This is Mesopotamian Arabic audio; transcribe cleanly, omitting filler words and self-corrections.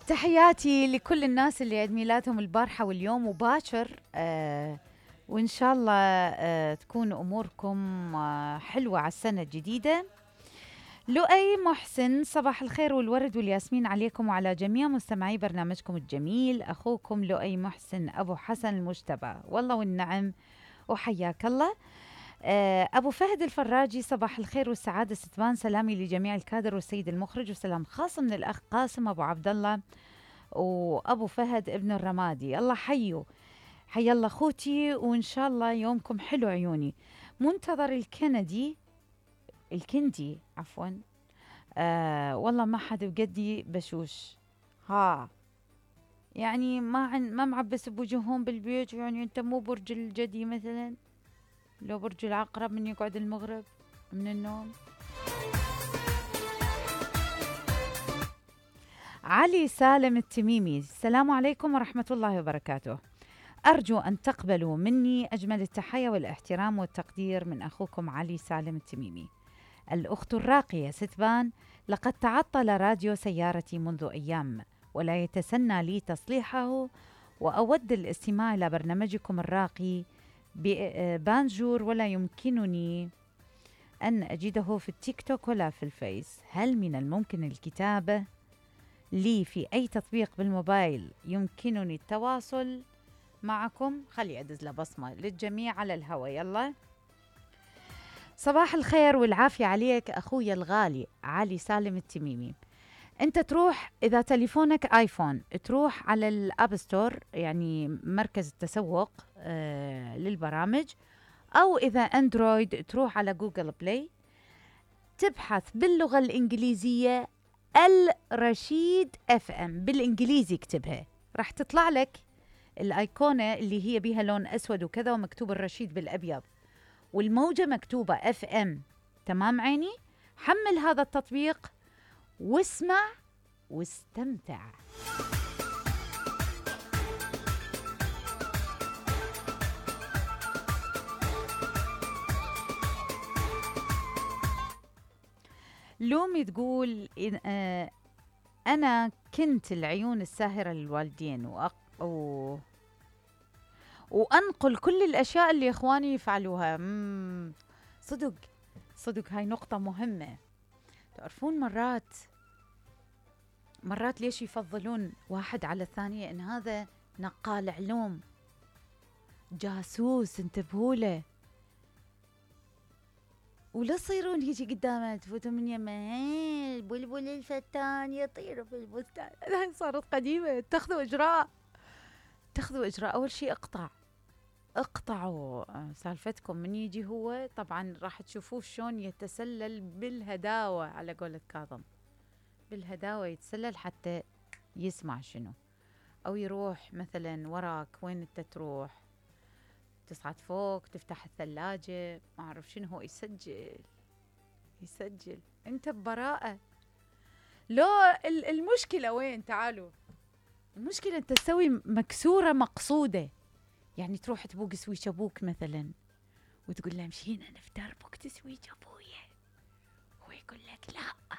تحياتي لكل الناس اللي عيد ميلادهم البارحة واليوم وباكر، وإن شاء الله تكون أموركم حلوة على السنة الجديدة. لؤي محسن، صباح الخير والورد والياسمين عليكم وعلى جميع مستمعي برنامجكم الجميل. أخوكم لؤي محسن أبو حسن المجتبى، والله والنعم وحياك الله. أبو فهد الفراجي، صباح الخير والسعادة ستبان، سلامي لجميع الكادر والسيد المخرج، وسلام خاص من الأخ قاسم أبو عبد الله وأبو فهد ابن الرمادي. الله حيو، حي الله أخوتي، وإن شاء الله يومكم حلو عيوني. منتظر الكندي عفوا. والله ما حد بقدي بشوش، ها يعني ما معبس بوجوههم بالبيوت. يعني أنت مو برج الجدي مثلا، لو برج العقرب من يقعد المغرب من النوم. علي سالم التميمي، السلام عليكم ورحمة الله وبركاته. أرجو أن تقبلوا مني أجمل التحية والاحترام والتقدير من أخوكم علي سالم التميمي. الأخت الراقية ستبان، لقد تعطل راديو سيارتي منذ أيام، ولا يتسنى لي تصليحه، وأود الاستماع إلى برنامجكم الراقي بانجور، ولا يمكنني أن أجده في التيك توك ولا في الفيس. هل من الممكن الكتابة لي في أي تطبيق بالموبايل يمكنني التواصل معكم؟ خلي أدز له بصمة للجميع على الهوى. يلا، صباح الخير والعافية عليك أخويا الغالي علي سالم التميمي. أنت تروح إذا تليفونك آيفون، تروح على الأب ستور، يعني مركز التسوق للبرامج، أو إذا أندرويد تروح على جوجل بلاي، تبحث باللغة الإنجليزية الرشيد اف ام، بالإنجليزي اكتبها، راح تطلع لك الأيقونة اللي هي بيها لون أسود وكذا، ومكتوب الرشيد بالأبيض، والموجة مكتوبة اف ام. تمام عيني؟ حمل هذا التطبيق واسمع واستمتع. لومي تقول أنا كنت العيون الساهرة للوالدين وأنقل كل الأشياء اللي إخواني يفعلوها. صدق هاي نقطة مهمة. تعرفون مرات ليش يفضلون واحد على الثانية؟ إن هذا نقال علوم، جاسوس، انتبهوا له، ولا تصيرون هيجي قدامه تفوتوا من يمه البلبل الفتان يطير في البستان. هاي صارت قديمة. اتخذوا إجراء. أول شيء اقطعوا سالفتكم. من يجي هو طبعا راح تشوفوه شلون يتسلل بالهداوة، على قولة كاظم، بالهداوة يتسلل حتى يسمع شنو، أو يروح مثلا وراك. وين انت تروح؟ تصعد فوق، تفتح الثلاجة، ما أعرف شنو، هو يسجل انت ببراءة. لو المشكلة وين؟ تعالوا، المشكلة انت تسوي مكسورة مقصودة. يعني تروح تبوق سويش ابوك مثلا، وتقول له مشينا نفتر بوك تسويش ابويا، هو يقول لك لا